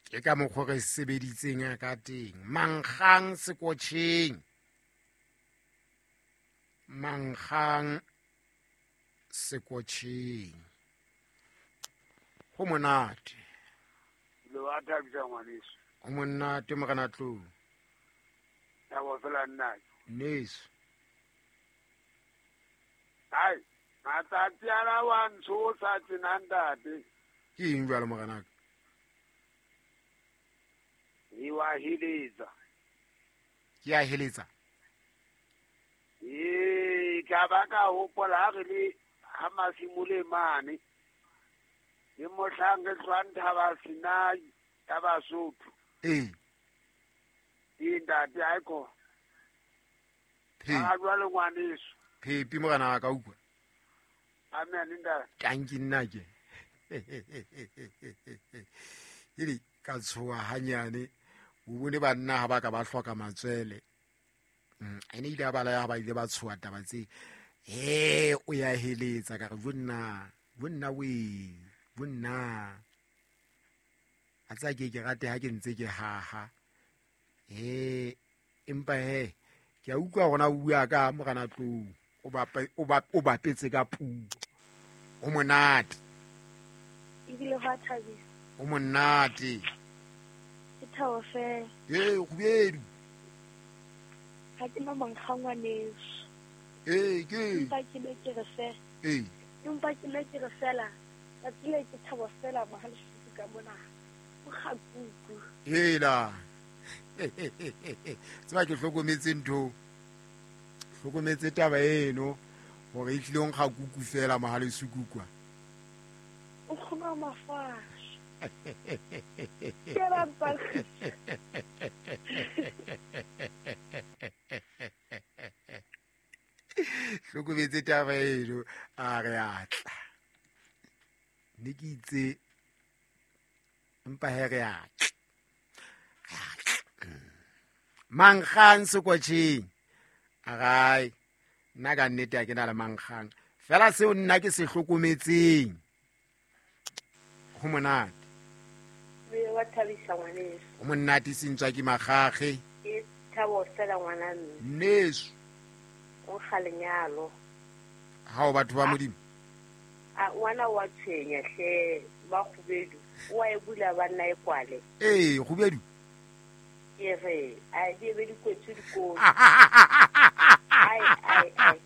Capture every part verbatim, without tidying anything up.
Ke ka mokgwa re sebeditseng ka teng. Mankgang sekotjheng. Mankgang sekotjheng. Ho monate. Le wa thabisa ngwaneso. Ho monate morena Tlou. Thabo fela nna. Neso. Ai, matsatsi ana wa ntshosa tjena ntate. Ke eng jwale morena ka? E wa heletsa. Ke a heletsa. Ee, ka ba ka hopola ha re le ha Masimole mane. Le mohlang re hlwang Thaba Sinai ya Basotho. Ee. Ee ntate aiko. Phe. A jwale ngwaneso. Phepi morena wa ka utlwa. Amen ntate. Tanki nna ke. Ele ka tshoha hanyane. O bone banna ha ba ka ba hloka matswele. Mm, ene ile a bala ya ba ile ba tshoha taba tse. Eh, o ya heletsa ka re bonna, bonna we, bonna. A tsa ke ke rate ha ke ntse ke haha. Eh, empa he ke a utlwa hore na o bua ka morena Tlou. O bapa o ba o bapetse ka puo. O monate. Ebile ho a thabisa. O monate. Ke thabo fela. Ee, kgubedu. Ha ke na mankga ngwaneso. Ee, ke. Empa ke ne ke re fela. Ee. Empa ke ne ke re fela. Tsatsi le ke thabo fela mohalesuku ka mona. O kgakuku. Hela. Tseba ke hlokometse ntho. Hlokometse taba eno hore e tlile nkga kuku fela mohalesuku kwa. O kgona mafasha. Ke ba mpa. Hlokometse taba eno a re atla. Ne ke itse empa he re atla. Mankgang sekotjheng. Arai, nna ka nnete ha ke na le mankgang. Fela seo nna ke se hlokometseng. Ho monate. Re wa thabisa ngwaneso. Ho monate sentswa ke makgakge. Ke thabo fela ngwana mme. Neso. O nkga lenyalo. Ha o batho ba Modimo. A ngwana wa tshwenya hle ba kgubedu. O a e bula banna e kwale. Ee, kgubedu. Ke re a di be dikotsi dikotsi. Ai ai ai.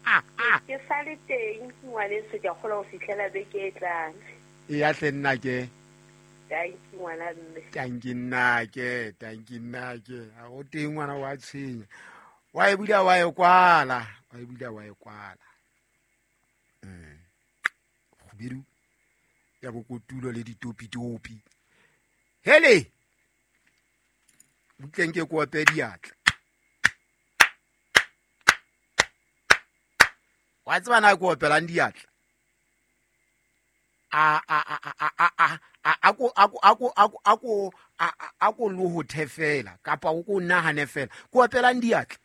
Ke sale teng ngwaneso ke a kgolwa ho fihlela beke e tlang. E ya hle nna ke. Tanki ngwana mme. Tanki nna ke, tanki nna ke. Ha o teng ngwana wa tshwenya. Wa e bula wa e kwala, wa e bula wa e kwala. Mm. Kgubedu ya bokotulo le ditopitopi. Hele. Butleng ke kope diatla. Wa tseba na ke opelang diatla? A a a a a a a a ko a ko a ko a ko a ko a ko lohothe fela kapa o ko nahane fela. Ke opelang diatla.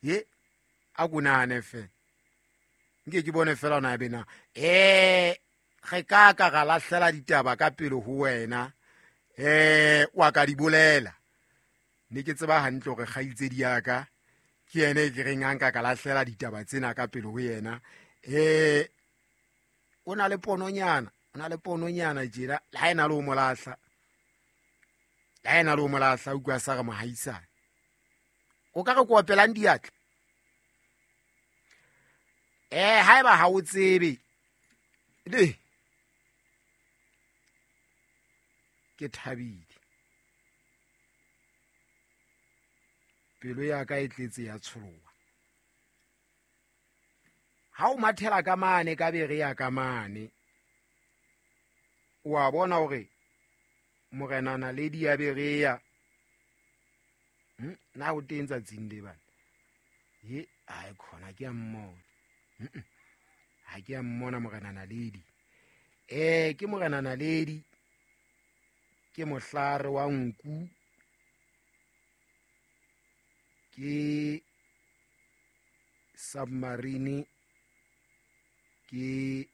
Ye a ko nahane fela. Nke ke bone fela ona be na. Eh re ka ka ra lahlela ditaba ka pele ho wena. Eh wa ka di bolela. Ne ke tseba hantle hore kgaitsedi ya ka ke yena e ke reng a nka ka lahlela ditaba tsena ka pele ho yena. Eh o na le pononyana, o na le pononyana tjena, le ha ena le o molahla. Le ha ena le o molahla utlwa sa re mohaisane. O ka re ko opelang diatla. Eh haeba ha o tsebe. Le ke thabile. Pelo ya ka e tletse ya tsholoha. Ha o mathela ka mane ka bere ya ka mane. O a bona hore morena Naledi ya Berea. Hm, na o teng tsatsing le bana. Ye, ai khona ke a mmona. Hm. Ha ke a mmona morena Naledi. Eh ke morena Naledi. Ke mohlare wa nku. Ke submarine ke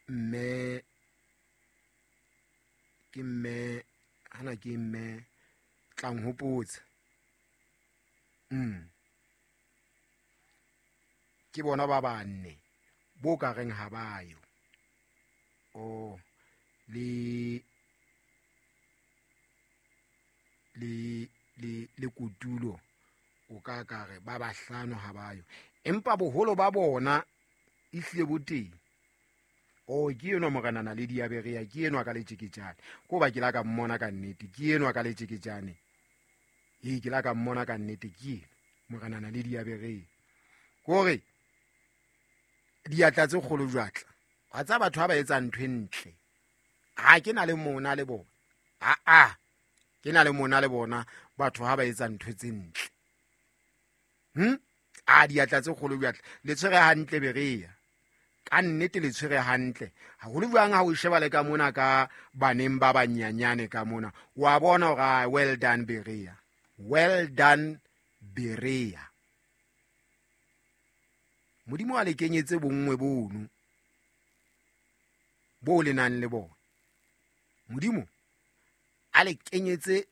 mme ke mme tlang hopotsa. Mm. Ke bona ba banne bo ka reng ha ba yo. Oh le le le le kutulo o ka ka re ba bahlano ha ba yo. Empa boholo ba bona ihle bo teng. O ke enwa morena na le diaberea ke enwa ka letjeketjane. Ko ba ke la ka mmona ka nnete ke enwa ka letjeketjane. E ke la ka mmona ka nnete ke morena na le diaberea. Kore diatla tse kgolo jwatla. Wa tsa batho ba ba etsa ntho e ntle. Ha ke na le mona le bona. A a ke na le mona le bona batho ha ba etsa ntho tse ntle. Hm? A diatla tse kgolo jwatla. Le tshwere hantle Berea. Ka nnete le tshwere hantle. Haholo jwang ha o sheba le ka mona ka baneng ba banyanyane ka mona. Wa bona hore well done Berea. Well done Berea. Modimo a le kenyetse bonngwe bono bo le nang le bona. Modimo a le kenyetse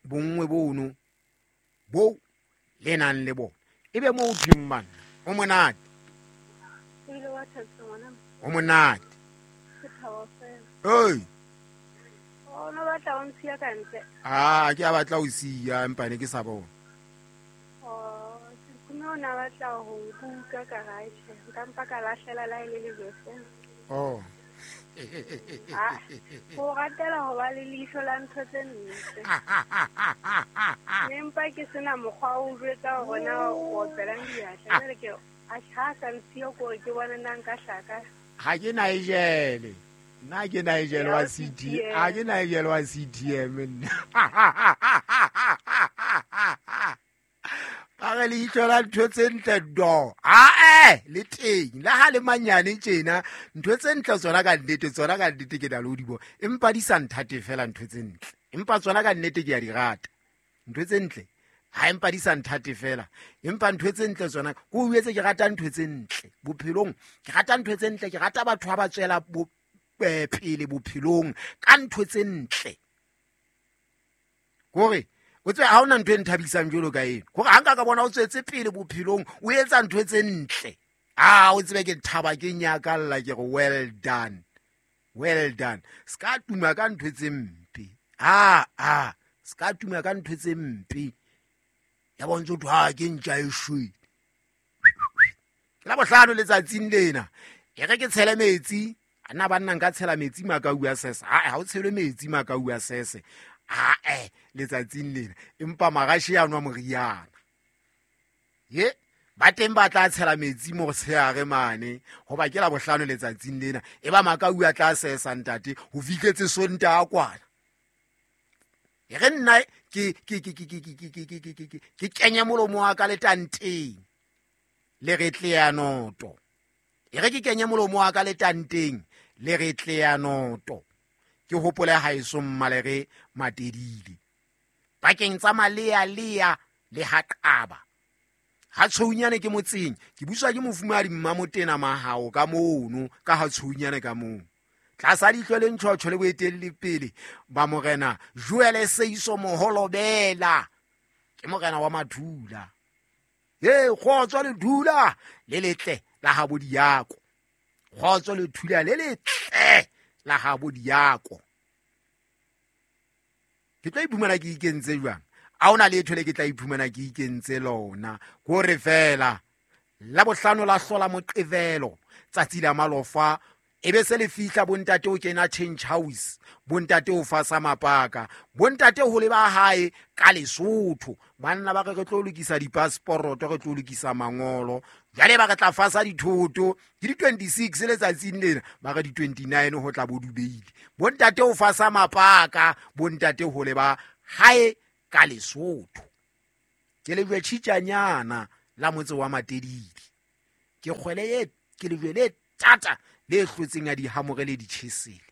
bonngwe bono bo le nang le bona. Ebe mo o thweng bana o monate. O monate. Oi. O no batla o ntshiya ka ntle. Ah, ke a batla o siya empa ne ke sa bona. Oh, ke no na batla ho nkuka ka gae. Nka mpa ka lahlela la ile le jose. Oh. Ah, o ratela ho ba le leihlo la ntho tse ntle. Empa ke sena mokgwa o jwetsa hore na o opelang diatla. Jwale ke a ha sa ntshiya ko ke bona nna nka hlaka. Ha ke Nigel. Nna ke Nigel wa C T. Ha ke Nigel wa C T M nna. Ba re leihlo la ntho tse ntle do. Ah eh le teng. Le ha le manyane tjena ntho tse ntle tsona ka nnete tsona ka nnete ke na le ho di bona. Empa di sa nthate fela ntho tse ntle. Empa tsona ka nnete ke a di rata. Ntho tse ntle. Ha empa di sa nthate fela. Empa ntho tse ntle tsona ko o etse ke rata ntho tse ntle bophelong. Ke rata ntho tse ntle, ke rata batho ba ba tswela bo pele bophelong ka ntho tse ntle. Kore o tswe ha ona ntho e nthabisang jwalo ka eno. Kore ha nka ka bona o tswetse pele bophelong o etsa ntho tse ntle. Ah o tsebe ke thaba ke nyakalla ke re well done. Well done. Ska tuma ka ntho tse mpe. Ah ah ska tuma ka ntho tse mpe. Ya bontsho thwa ha ke ntja e shwele. Ke la bohlano letsatsing lena. E re ke tshele metsi. Ana banna nka tshela metsi makau a sese. Ha ha o tshele metsi makau a sese. Ha eh letsatsing lena. Empa magashi a nwa moriana. Ye ba teng ba tla tshela metsi mo tsheare mane hoba ke la bohlano letsatsing lena. E ba makau a tla sesa ntate ho fihletse Sonta a kwana. E re nna ke ke ke ke ke ke ke ke ke ke ke kenya molomo wa ka letanteng le re tlea noto. E re ke kenya molomo wa ka letanteng le re tlea noto. Ke hopole haeso mmalere Matedile. Pakeng tsa malea lea le haqaba. Ha tshounyane ke motseng, ke buswa ke mofumadi Mmamotena Mahao ka mono ka ha tshounyane ka mono. Tlasa leihlo le ntjhotjho le boetelli pele ba morena Joel Seiso Moholobela. Ke morena wa Mathula. He kgotso le thula le letle la ha bodiako. Kgotso le thula le letle la ha bodiako. Ke tla iphumana ke ikentse jwang? A ona letho le ke tla iphumana ke ikentse lona. Kore fela la bohlano la hlola moqevelo tsatsi la malofa. Ebe se le fihla bontate o kena change house, bontate o fasa mapaka, bontate ho le ba hae ka Lesotho. Banna ba re re tlo lokisa di-passport, re tlo lokisa mangolo. Jwale ba re tla fasa dithoto ke di twenty-six letsatsing lena, ba re di twenty-nine ho tla bo dubeile. Bontate o fasa mapaka, bontate ho le ba hae ka Lesotho. Ke lejwe tjhitjanyana la motse wa Matedile. Ke kgwele e ke lejwe le tata le hlotseng ya dihamore le ditjhesele.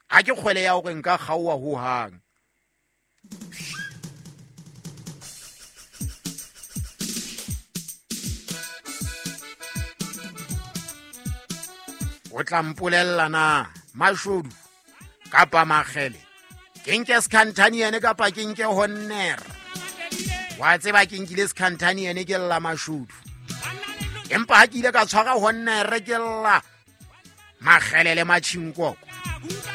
Ha ke kgwele ya hore nka kgaoha ho hang. O tla mpolella na mashodu kapa makgele Ke nke Skhanthaniene kapa ke nke Honnere? Wa tseba ke nkile Skhanthaniene ke lla mashodu, empa ha ke ile ka tshwara Honnere ke lla makgelele matjhinkoko.